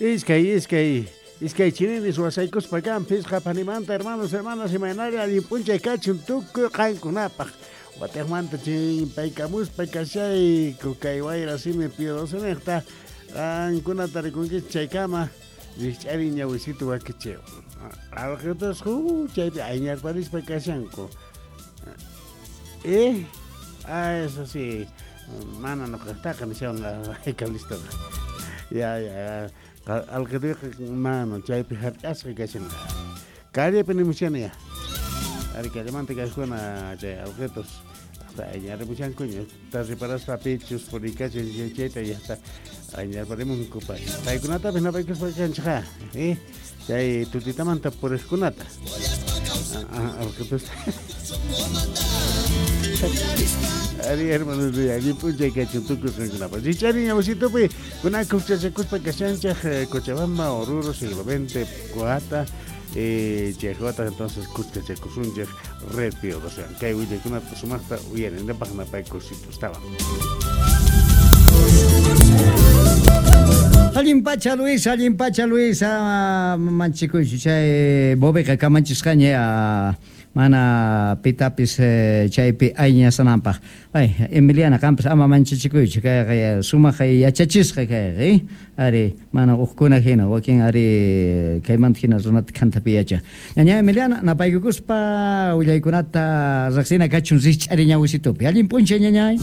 Iskay, iskay, iskay chininis wasaykuspa kan phisqa panimanta hermanos, hermanas, imaynari allin p'unchay kachun tukuy qankunapaq. Watejmanta chimpaykamuspa kashayku kay wayra simi Pío XII qankunata rikunkichis chaykama rikch'arin ñawisitu wakichiw. Alqitas chaypi ayñarparispa kashanku. Eh, ah, eso sí. Mana noqajtaqa nishawan kalistoqa. Ya, ya, alqituyqa mana chaypi hark'asqa kashan. Callepi nimushani ya. Ari callemanta kajkuna chay alqitus hasta ayñarimushankuña. Ta reparaspa pichus purikachin chayta llaqta ayñarparimunku pay. Paykunatapis napaykuspa kanchej eh? Chay tutitamanta puriqkunata. Alqitus. Ari hermanos, allin p'unchay kachun tukuy qankunapaq. Richari ñawsitupi kunan khuchachakuspa kashanchej Cochabamba, Oruro, siglo XX, Coata, chay wata entonces khuskachakusunchej Red Pío XII. Kay willaykunata sumaqta uyarinapaq napaykusitustawan. Allin pacha Luis, allin pacha Luis, manchikuychu chay bobiqa kamachisqaña mana pitapis chaypi ayñasananpaq. Ay, Emiliana, qanpas ama manchachikuychu, kayqa sumaq yachachisqa kayqa, ari mana uqkuna hina, wakin ari kaymanta hina runata khantapi yachan. Ñaña Emiliana, napaykukuspa willaykunata riqsina kachun rikch'ari ñawisitupi. Allin p'unchay ñañay.